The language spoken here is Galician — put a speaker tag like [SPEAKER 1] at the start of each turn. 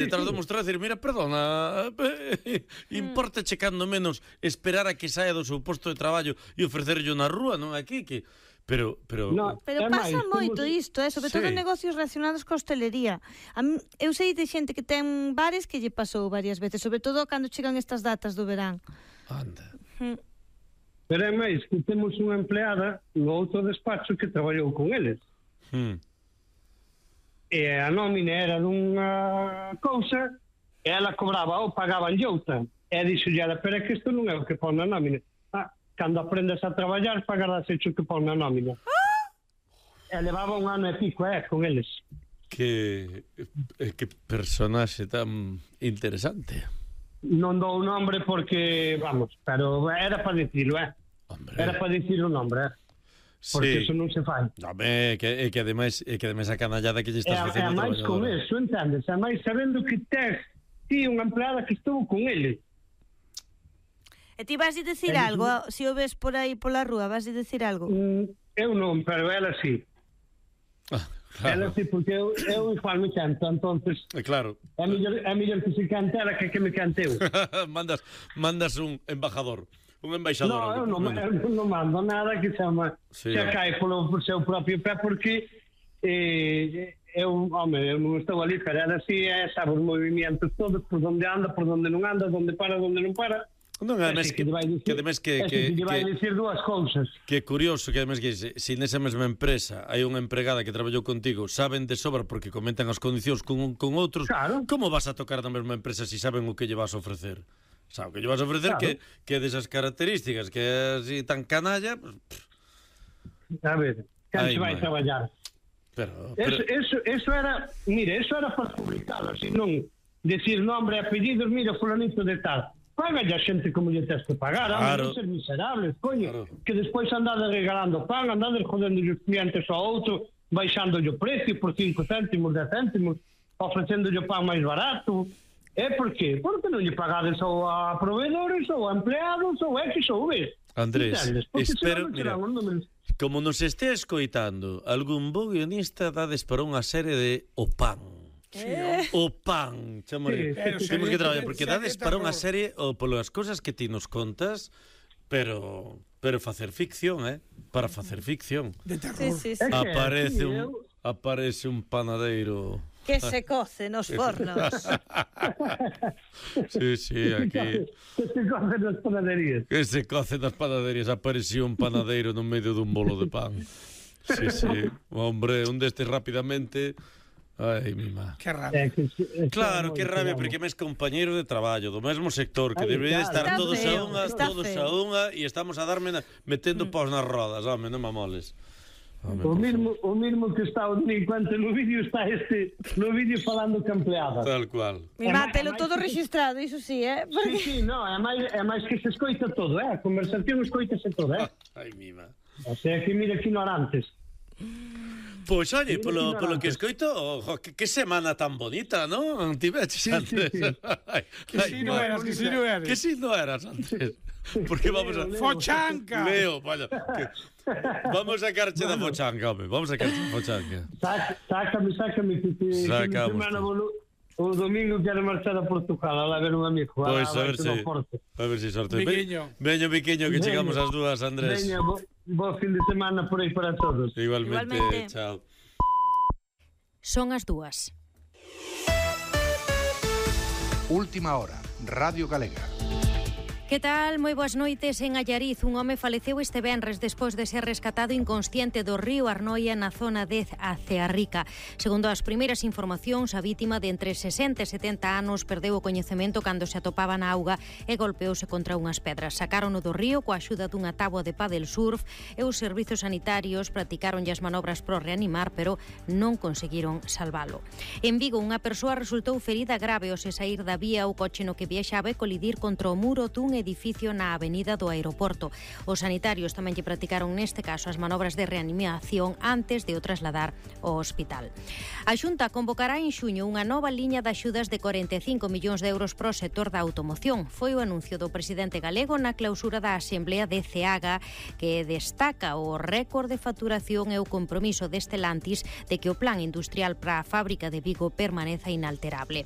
[SPEAKER 1] detrás do mostrar, decir, mira, perdona, importa checando menos esperar a que saia do seu posto de traballo e ofrecerlle na rúa, non aquí, que... Pero
[SPEAKER 2] pasa moito isto, sobre todo en negocios relacionados coa hostelería. Eu sei de xente que ten bares que lle pasou varias veces, sobre todo cando chegan estas datas do verán.
[SPEAKER 1] Anda.
[SPEAKER 3] Pero é máis que temos unha empleada no outro despacho que traballou con eles. E a nómina era dunha cousa e ela cobraba ou pagaban outra. E dixolle ela, pero é que isto non é o que pon na nómina. Cando aprendes a traballar, pagarás hecho que pon na nómina. E levaba un ano e pico, con eles.
[SPEAKER 1] Que personaxe tan interesante.
[SPEAKER 3] Non dou o nombre porque, vamos, pero era para dicirlo, Hombre. Era para dicir o nombre, porque eso non se fai.
[SPEAKER 1] É que ademais a canallada que lle estás facendo.
[SPEAKER 3] É máis con eso, entendes? É máis sabendo que tes ti unha empleada que estuvo con ele.
[SPEAKER 2] E ti vas a dicir algo? Se o ves por aí pola rúa, vas a dicir algo?
[SPEAKER 3] Eu non, pero ela sí. Claro. Ela sí, porque eu igual me canto, entonces
[SPEAKER 1] claro.
[SPEAKER 3] É mellor que se cantara que me canteu.
[SPEAKER 1] mandas un embajador. Un embaixador.
[SPEAKER 3] Eu non mando nada que chama que cae polo seu propio pé, porque eu non estou ali, pero ela sí sabe os movimentos todos, por onde anda, por onde non anda, onde para, onde non para.
[SPEAKER 1] Non, ademais que
[SPEAKER 3] vai dicir dúas cousas.
[SPEAKER 1] Que é curioso que ademais que se nesa mesma empresa hai unha empregada que traballou contigo, saben de sobra porque comentan as condicións con outros,
[SPEAKER 3] claro.
[SPEAKER 1] Como vas a tocar na mesma empresa se saben o que lle vas a ofrecer? Sabe o que lle vas a ofrecer, claro. que é desas características, que é así tan canalla, pues...
[SPEAKER 3] A ver, que se vai traballar.
[SPEAKER 1] Pero...
[SPEAKER 3] Eso era, mire, eso era para publicado, así non decir nombre e apellidos, mira, fulanito de tal. Págale a xente como lle tens que pagar, non ser miserables, coño, que despois andades regalando pan, andades jodendo os clientes ao outro, baixando o precio por 5 céntimos, 10 céntimos, ofrecendo o pan máis barato. Por qué? Porque non lle pagades ou a proveedores, ou a empleados, ou X ou B.
[SPEAKER 1] Andrés, espero, mira, como nos este escoitando, algún bo guionista dades para unha serie de O Pan. O Pan, temos que traballar porque dades para unha serie ou polas cousas que ti nos contas, pero facer ficción, para facer ficción.
[SPEAKER 4] De terror.
[SPEAKER 1] Aparece un panadeiro
[SPEAKER 2] que se coce nos fornos.
[SPEAKER 1] Sí, aquí.
[SPEAKER 3] Que se coce nas panaderías.
[SPEAKER 1] Que se coce nas panaderías. Apareció un panadeiro no medio dun bolo de pan. Sí. Hombre, un destes rapidamente... Ai, mima.
[SPEAKER 4] Que rabia.
[SPEAKER 1] Claro, que rabia, porque mes compañeiro de traballo do mesmo sector, que debería estar todos a unha e estamos a darme metendo paus nas rodas, home, non mamoles.
[SPEAKER 3] O mismo que está o delincuente no vídeo, está no vídeo falando que empleada.
[SPEAKER 1] Tal cual.
[SPEAKER 2] Telo todo registrado, iso sí,
[SPEAKER 3] Sí, no, é máis que se escoita todo, a conversación escoitase todo,
[SPEAKER 1] Ai, mima.
[SPEAKER 3] O sea, que mira que ignorantes.
[SPEAKER 1] Pois, oye, polo que escoito, que semana tan bonita, non? Tiveches antes.
[SPEAKER 4] Que si non eras.
[SPEAKER 1] Que si non eras antes. Porque vamos a...
[SPEAKER 4] Fochanca!
[SPEAKER 1] Leo, vaya. Vamos a sacarche da fochanca, home. Vamos a sacarche da fochanca.
[SPEAKER 3] Sácame, que semana o domingo quero marchar a Portugal a ver un amigo.
[SPEAKER 1] Pois a ver se sorte. Veño, Viquiño, que chegamos ás dúas, Andrés.
[SPEAKER 3] Veño, bo fin de semana por aí para todos.
[SPEAKER 1] Igualmente. Chao.
[SPEAKER 5] Son as dúas.
[SPEAKER 6] Última hora, Radio Galega.
[SPEAKER 5] Que tal? Moi boas noites. En Allariz, un home faleceu este venres despois de ser rescatado inconsciente do río Arnoia na zona de Acearrica. Segundo as primeiras informacións, a vítima de entre 60 e 70 anos perdeu o coñecemento cando se atopaba na auga e golpeouse contra unhas pedras. Sacárono do río coa axuda dunha táboa de paddle surf e os servizos sanitarios practicaronlle as manobras pro reanimar, pero non conseguiron salvalo. En Vigo, unha persoa resultou ferida grave ao se sair da vía o coche no que viaxaba e colidir contra o muro dun edificio na avenida do aeroporto. Os sanitarios tamén lle practicaron neste caso as manobras de reanimación antes de o trasladar ao hospital. A Xunta convocará en xuño unha nova liña de axudas de 45 millóns de euros para o sector da automoción. Foi o anuncio do presidente galego na clausura da Asamblea de CEAGA, que destaca o récord de facturación e o compromiso de Stellantis de que o plan industrial para a fábrica de Vigo permaneza inalterable.